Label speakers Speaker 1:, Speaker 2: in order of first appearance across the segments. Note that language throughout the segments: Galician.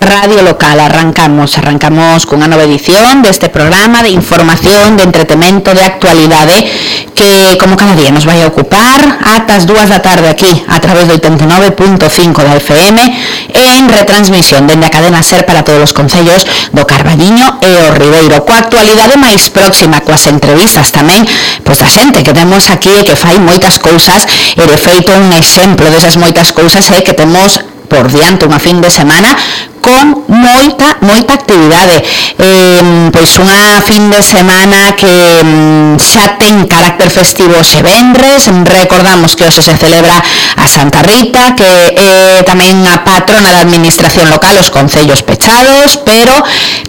Speaker 1: Radio Local. Arrancamos cunha nova edición deste programa de información, de entretemento, de actualidade que, como cada día, nos vai a ocupar ata as 2 da tarde aquí a través do 89.5 da FM en retransmisión dende a cadena SER para todos os concellos do Carballiño e o Ribeiro, coa actualidade máis próxima, coas entrevistas tamén pois da xente que temos aquí e que fai moitas cousas, e de feito un exemplo desas moitas cousas é que temos por diante unha fin de semana con moita actividade, pois unha fin de semana que xa ten carácter festivo xe vendres. Recordamos que hoxe se celebra a Santa Rita, que é tamén a patrona da administración local, os concellos pechados, pero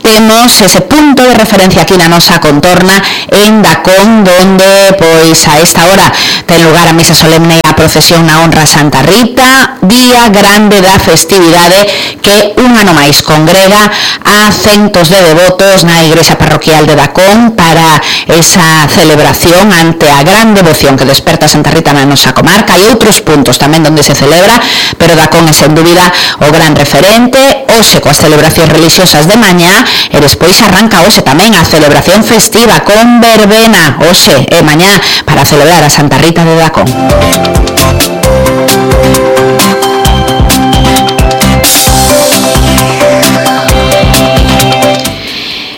Speaker 1: temos ese punto de referencia aquí na nosa contorna en Dacón, donde pois a esta hora ten lugar a misa solemne e a procesión na honra a Santa Rita, día grande da festividade que un ano máis congrega a centos de devotos na igrexa parroquial de Dacón para esa celebración ante a gran devoción que desperta Santa Rita na nosa comarca. Hai outros puntos tamén onde se celebra, pero Dacón é sen dúbida o gran referente. Hoxe coas celebracións religiosas de mañá, e despois arranca hoxe tamén a celebración festiva con verbena hoxe e mañá para celebrar a Santa Rita de Dacón.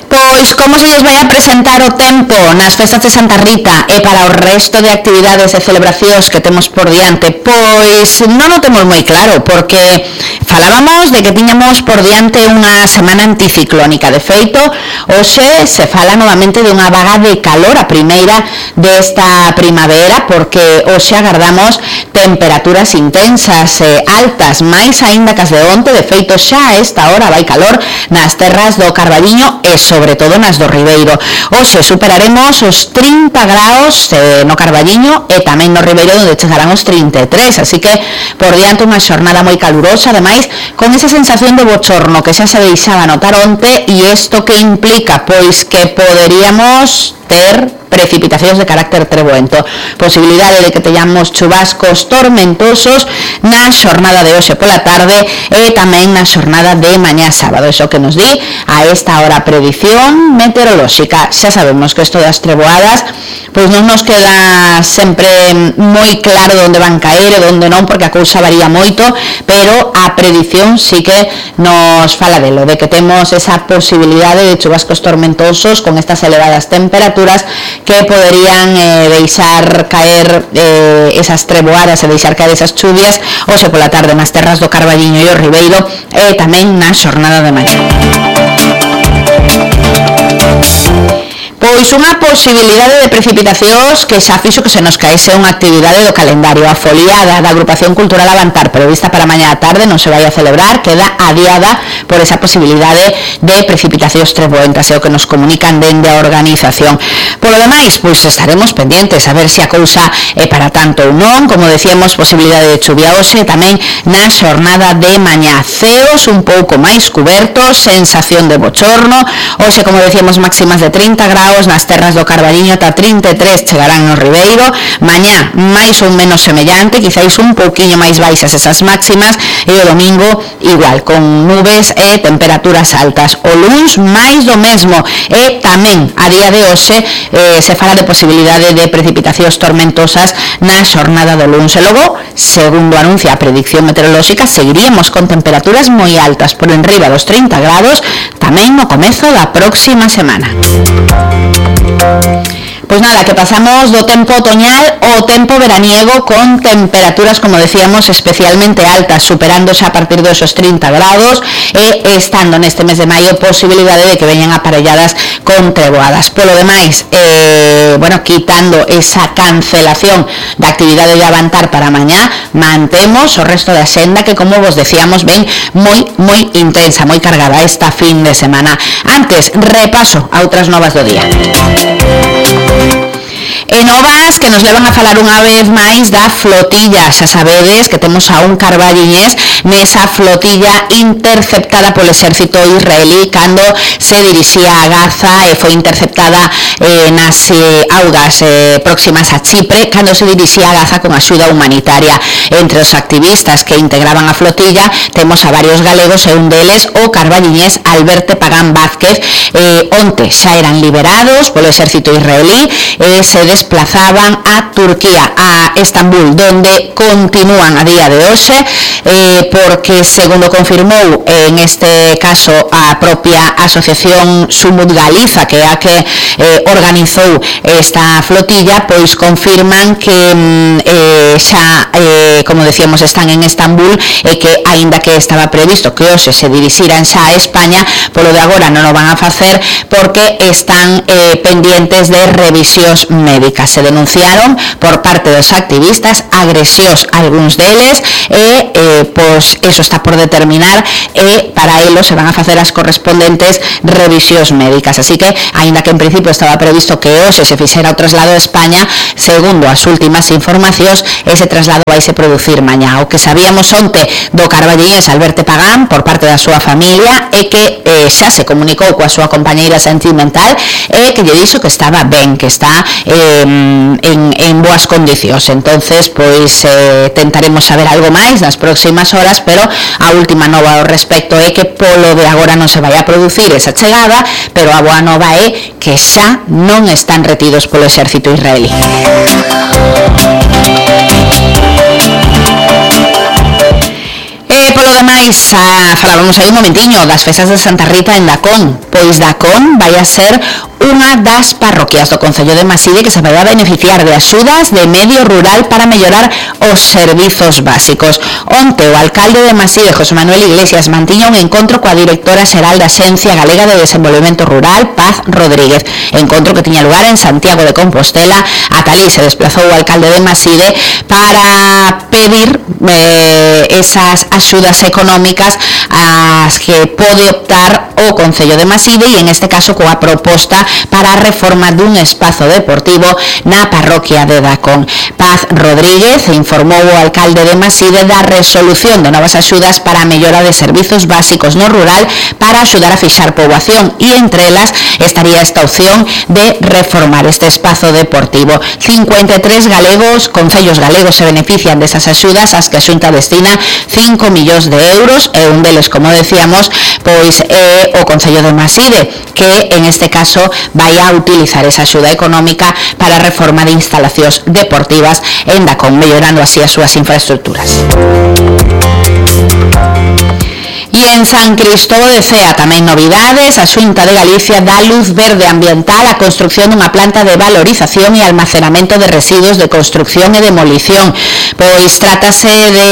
Speaker 1: Pois como se lles vai a presentar o tempo nas festas de Santa Rita e para o resto de actividades e celebracións que temos por diante, pois non o temos moi claro, porque falábamos de que tiñamos por diante unha semana anticiclónica. De feito, hoxe se fala novamente de unha vaga de calor, a primeira desta primavera, porque hoxe agardamos temperaturas intensas e altas, máis aínda que as de onte. De feito, xa a esta hora vai calor nas terras do Carballiño e sobre todo nas do Ribeiro. Hoxe superaremos os 30 graus no Carballiño e tamén no Ribeiro, onde chegarán os 33, así que por diante unha xornada moi calurosa, ademais con esa sensación de bochorno que xa se deixaba notar onte. E isto que implica? Pois que poderíamos ter precipitacións de carácter treboento, posibilidade de que teñamos chubascos tormentosos na xornada de hoxe pola tarde e tamén na xornada de mañá sábado. Iso que nos di a esta hora a predición meteorolóxica. Xa sabemos que isto das treboadas pois non nos queda sempre moi claro onde van caer e onde non, porque a cousa varía moito, pero a predición sí que nos fala delo, de que temos esa posibilidade de chubascos tormentosos con estas elevadas temperaturas que poderían deixar caer esas treboadas e deixar caer esas chuvias hoxe pola tarde nas terras do Carballiño e o Ribeiro e tamén na xornada de mañá. Pois unha posibilidade de precipitacións que xa fixo que se nos caese unha actividade do calendario. A foliada da Agrupación Cultural Avantar prevista para mañá a tarde non se vai a celebrar, queda adiada por esa posibilidade de precipitacións treboentas, é o que nos comunican dende a organización. Polo demais, pois estaremos pendientes a ver se a cousa é para tanto ou non. Como decíamos, posibilidade de chuvia hoxe, tamén na xornada de mañá. Ceos un pouco máis cubertos, sensación de bochorno. Hoxe, como decíamos, máximas de 30 graus nas terras do Carballiño, ata 33 chegarán no Ribeiro. Mañá máis ou menos semellante, quizáis un pouquiño máis baixas esas máximas, e o domingo igual, con nubes e temperaturas altas. O luns máis do mesmo, e tamén a día de hoxe se fala de posibilidade de precipitacións tormentosas na xornada do luns. E logo, segundo anuncia a predicción meteorolóxica, seguiríamos con temperaturas moi altas por enriba dos 30 grados tamén no comezo da próxima semana. Pois nada, que pasamos do tempo otoñal ao tempo veraniego con temperaturas, como decíamos, especialmente altas, superando xa a partir dos 30 graus e estando neste mes de maio posibilidade de que veñan aparelladas con treboadas. Polo demais, quitando esa cancelación da actividade de Avantar para mañá, mantemos o resto da xenda que, como vos decíamos, ven moi intensa, moi cargada esta fin de semana. Antes, repaso a outras novas do día. E novas que nos levan a falar unha vez máis da flotilla. Xa sabedes que temos a un carballiñés nesa flotilla interceptada polo exército israelí cando se dirixía a Gaza e foi interceptada nas augas próximas a Chipre cando se dirixía a Gaza con axuda humanitaria. Entre os activistas que integraban a flotilla temos a varios galegos e un deles o carballiñés Alberto Pagán Vázquez. Onte xa eran liberados polo exército israelí e se desplazaban a Turquía, a Estambul, donde continúan a día de hoxe, porque, segundo confirmou en este caso a propia asociación Sumut Galiza, que é a que organizou esta flotilla, pois confirman que xa, como decíamos, están en Estambul e que, aínda que estaba previsto que hoxe se dirixiran xa a España, polo de agora non o van a facer porque están pendientes de revisións médicas. Se denunciaron por parte dos activistas agresións algúns deles e pois eso está por determinar e para elos se van a facer as correspondentes revisións médicas. Así que, aínda que en principio estaba previsto que hoxe se fixera o traslado a España, segundo as últimas informacións, ese traslado vaise producir mañá. O que sabíamos onte do carballiñés Alberto Pagán por parte da súa familia é que xa se comunicou coa súa compañeira sentimental e que lle dixo que estaba ben, que está en boas condicións. Entonces, pois tentaremos saber algo máis nas próximas horas, pero a última nova ao respecto é que polo de agora non se vai a producir esa chegada, pero a boa nova é que xa non están retidos polo exército israelí. Polo demais, falábamos aí un momentiño das festas de Santa Rita en Dacón. Pois Dacón vai a ser unha das parroquias do Concello de Maside que se vai a beneficiar de axudas de medio rural para mellorar os servizos básicos. Onte o alcalde de Maside, José Manuel Iglesias, mantiña un encontro coa directora xeral da Axencia Galega de Desenvolvemento Rural, Paz Rodríguez. Encontro que tiña lugar en Santiago de Compostela. Ata alí se desplazou o alcalde de Maside para pedir esas axudas económicas ás que pode optar o Concello de Maside e en este caso coa proposta para a reforma dun espazo deportivo na parroquia de Dacón. Paz Rodríguez informou o alcalde de Maside da resolución de novas axudas para a mellora de servizos básicos no rural para axudar a fixar poboación e entre elas estaría esta opción de reformar este espazo deportivo. 53 galegos, concellos galegos se benefician desas axudas ás que a Xunta destina 5 millóns de euros e un deles, como decíamos, pois é o Concello de Maside, que en este caso vai a utilizar esa axuda económica para a reforma de instalacións deportivas en Dacón, mellorando así as súas infraestructuras. E en San Cristóbal de Cea tamén novidades. A Xunta de Galicia dá luz verde ambiental á construción dunha planta de valorización e almacenamento de residuos de construción e demolición. Pois trátase de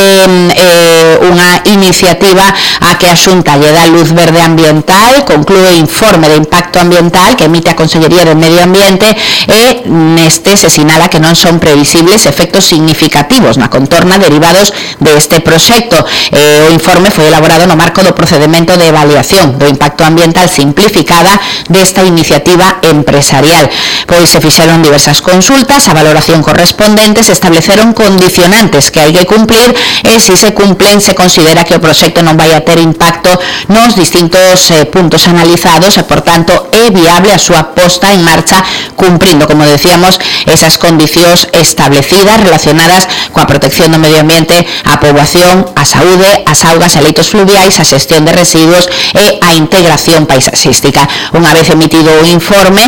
Speaker 1: unha iniciativa a que a Xunta lle dá luz verde ambiental, conclúe informe de impacto ambiental que emite a Consellería de Medio Ambiente e neste se sinala que non son previsibles efectos significativos na contorna derivados deste proxecto. O informe foi elaborado no marco do procedimento de avaliación do impacto ambiental simplificada desta iniciativa empresarial. Pois se fixeron diversas consultas, a valoración correspondente se estableceron condicionantes que hai que cumplir e se se cumplen se considera que o proxecto non vai a ter impacto nos distintos puntos analizados e, por tanto, é viable a súa posta en marcha cumprindo, como decíamos, esas condicións establecidas relacionadas coa protección do medio ambiente, a poboación, a saúde, as augas e leitos fluviais, a xestión de residuos e a integración paisaxística. Unha vez emitido o informe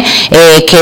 Speaker 1: que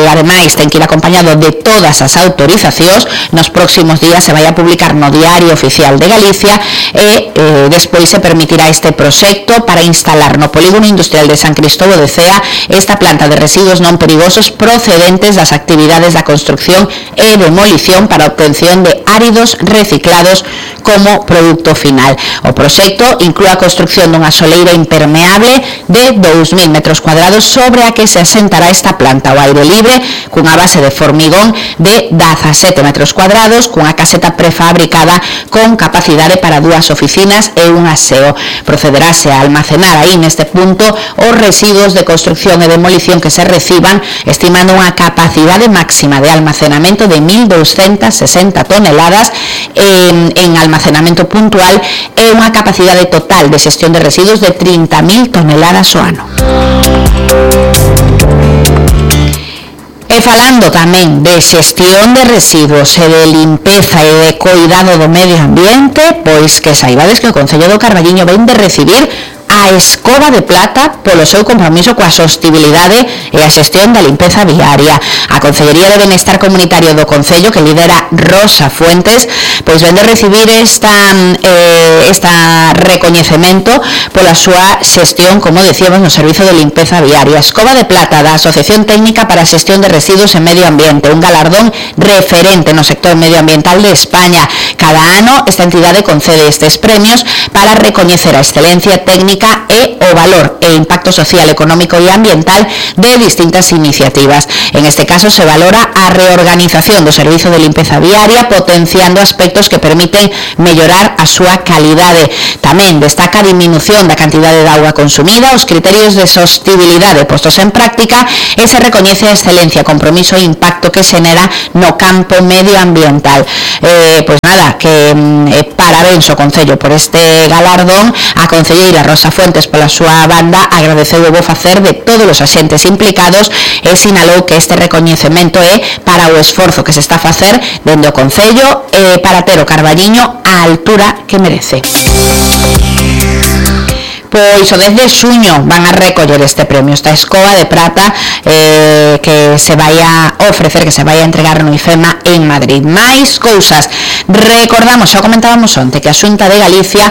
Speaker 1: ademais ten que ir acompañado de todas as autorizacións, nos próximos días se vai a publicar no Diario Oficial de Galicia e despois se permitirá este proxecto para instalar no Polígono Industrial de San Cristóbal de Cea esta planta de residuos non perigosos procedentes das actividades da construcción e demolición para a obtención de áridos reciclados como produto final. O proxecto inclúe a construcción dunha soleira impermeable de 2.000 metros cuadrados sobre a que se asentará esta planta ao aire libre cunha base de formigón de 17 metros cuadrados, cunha caseta prefabricada con capacidade para 2 oficinas e un aseo. Procederase a almacenar aí neste punto os residuos de construcción e demolición que se reciban, estimando unha capacidade máxima de almacenamento de 1.260 toneladas en almacenamento puntual e unha capacidade total de xestión de residuos de 30.000 toneladas ao ano. E falando tamén de xestión de residuos e de limpeza e de cuidado do medio ambiente, pois que saibades que o Concello do Carballiño ven de recibir a Escoba de Plata polo seu compromiso coa sostibilidade e a xestión da limpeza viaria. A Consellería de Benestar Comunitario do Concello, que lidera Rosa Fuentes, pois ven de recibir esta recoñecemento pola súa xestión, como decíamos, no servizo de limpeza viaria. Escoba de Plata da Asociación Técnica para a Xestión de Residuos e Medio Ambiente, un galardón referente no sector medioambiental de España. Cada ano esta entidade concede estes premios para recoñecer a excelencia técnica e o valor e impacto social, económico e ambiental de distintas iniciativas. En este caso se valora a reorganización do servizo de limpeza viaria, potenciando aspectos que permiten mellorar a súa calidade. Tamén destaca a disminución da cantidade de auga consumida, os criterios de sostibilidade postos en práctica e se recoñece a excelencia, compromiso e impacto que xenera no campo medioambiental. Pois nada, que parabéns ao Concello por este galardón. A concelleira Rosa Fuentes, pola súa banda, agradeceu o bo facer de todos os axentes implicados e sinalou que este recoñecemento é para o esforzo que se está a facer dende o Concello para ter o Carballiño á altura que merece. Pois o 10 de xuño van a recoller este premio, esta Escoba de Plata que se vai a ofrecer, que se vai a entregar no IFEMA en Madrid. Mais cousas, recordamos, xa comentábamos onte, que a Xunta de Galicia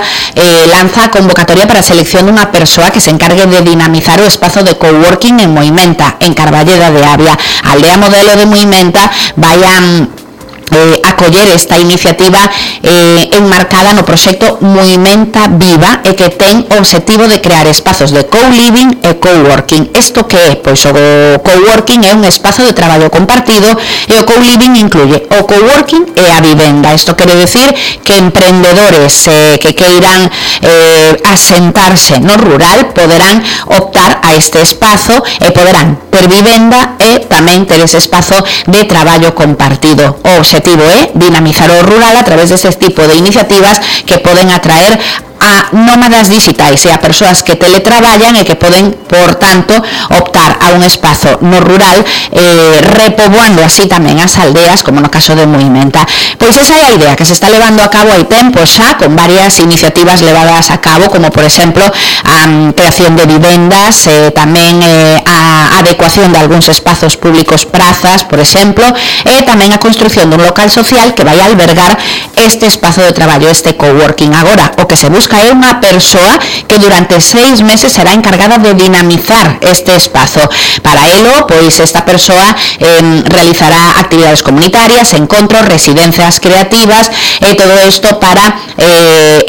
Speaker 1: lanza a convocatoria para a selección dunha persoa que se encargue de dinamizar o espazo de coworking en Moimenta, en Carballeda de Avia. A aldea modelo de Moimenta vai a acoller esta iniciativa enmarcada no proxecto Moimenta Viva e que ten o obxectivo de crear espazos de co-living e co-working. Isto que é? Pois o co-working é un espazo de traballo compartido e o co-living incluye o co-working e a vivenda. Isto quere decir que emprendedores que queiran asentarse no rural poderán optar a este espazo e poderán ter vivenda e tamén ter ese espazo de traballo compartido. O obxectivo é dinamizar o rural a través dese tipo de iniciativas que poden atraer a nómadas digitais e a persoas que teletraballan e que poden, por tanto, optar a un espazo no rural repoboando así tamén as aldeas, como no caso de Moimenta. Pois esa é a idea que se está levando a cabo hai tempo xa, con varias iniciativas levadas a cabo, como por exemplo a creación de vivendas, tamén a adecuación de algúns espazos públicos, prazas, por exemplo, e tamén a construcción dun local social que vai albergar este espazo de traballo, este coworking. Agora, o que se busca é unha persoa que durante 6 meses será encargada de dinamizar este espazo. Para elo, pois esta persoa realizará actividades comunitarias, encontros, residencias creativas e todo isto para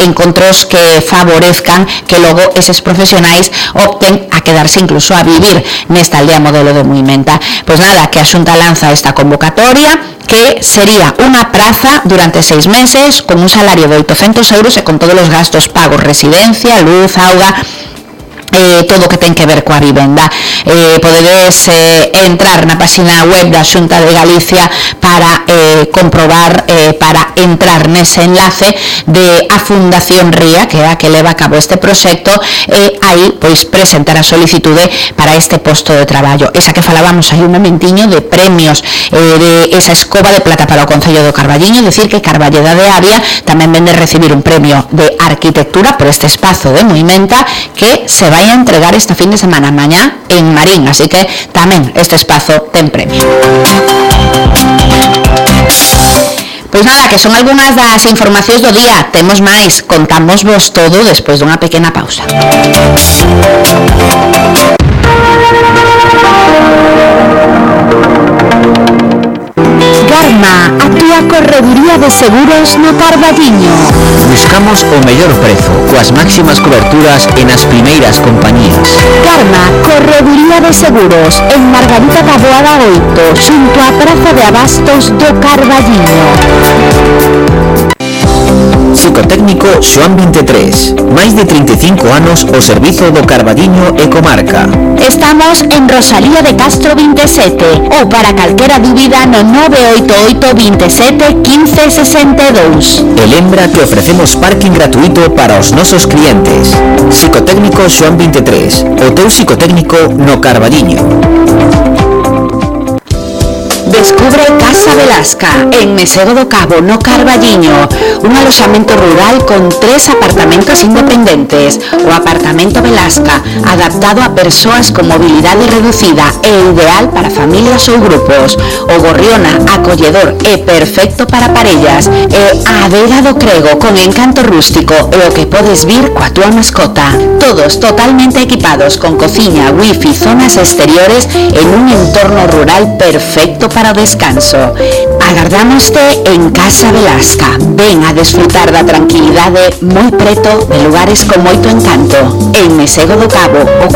Speaker 1: encontros que favorezcan que logo eses profesionais opten a quedarse incluso a vivir nesta aldea modelo de Moimenta. Pois nada, que a Xunta lanza esta convocatoria que sería unha praza durante 6 meses con un salario de 800 euros e con todos os gastos pagos, residencia, luz, auga, todo o que ten que ver coa vivenda. Podedes entrar na página web da Xunta de Galicia para comprobar, para entrar nese enlace de a Fundación Ría, que é a que leva a cabo este proxecto, e aí pois presentar a solicitude para este posto de traballo. Esa que falábamos aí un momentiño de premios, de esa Escoba de Plata para o Concello do Carballiño, decir que Carballeda de Avia tamén vende recibir un premio de arquitectura por este espazo de Moimenta que se vai a entregar esta fin de semana mañá en Marín, así que tamén este espazo ten premio. Pois nada, que son algunhas das informacións do día. Temos máis, contamos vos todo despois dunha pequena pausa. Garma, a túa a Correduría de Seguros no Carballiño.
Speaker 2: Buscamos o mellor prezo, coas máximas coberturas en as primeiras compañías.
Speaker 1: Karma, Correduría de Seguros, en Margarita Taboada 8, xunto á Praza de Abastos do Carballiño.
Speaker 2: Psicotécnico Xoán 23, máis de 35 anos ao servizo do Carballiño e comarca.
Speaker 1: Estamos en Rosalía de Castro 27 ou para calquera dúbida no 988 27 15 62.
Speaker 2: E lembra que ofrecemos parking gratuito para os nosos clientes. Psicotécnico Xoán 23, o teu psicotécnico no Carballiño.
Speaker 1: Descubre Casa Velasca, en Mesego do Cabo, no Carballiño, un aloxamento rural con 3 apartamentos independentes. O apartamento Velasca, adaptado a persoas con mobilidade reducida e ideal para familias ou grupos. O Gorriona, acolledor e perfecto para parellas. E a Adega do Crego, con encanto rústico e o que podes vir coa túa mascota. Todos totalmente equipados con cociña, wifi, zonas exteriores en un entorno rural perfecto para o descanso. Agardámoste en Casa Velasca. Ven a desfrutar da tranquilidade moi preto de lugares con moito encanto. En Mesego do Cabo, o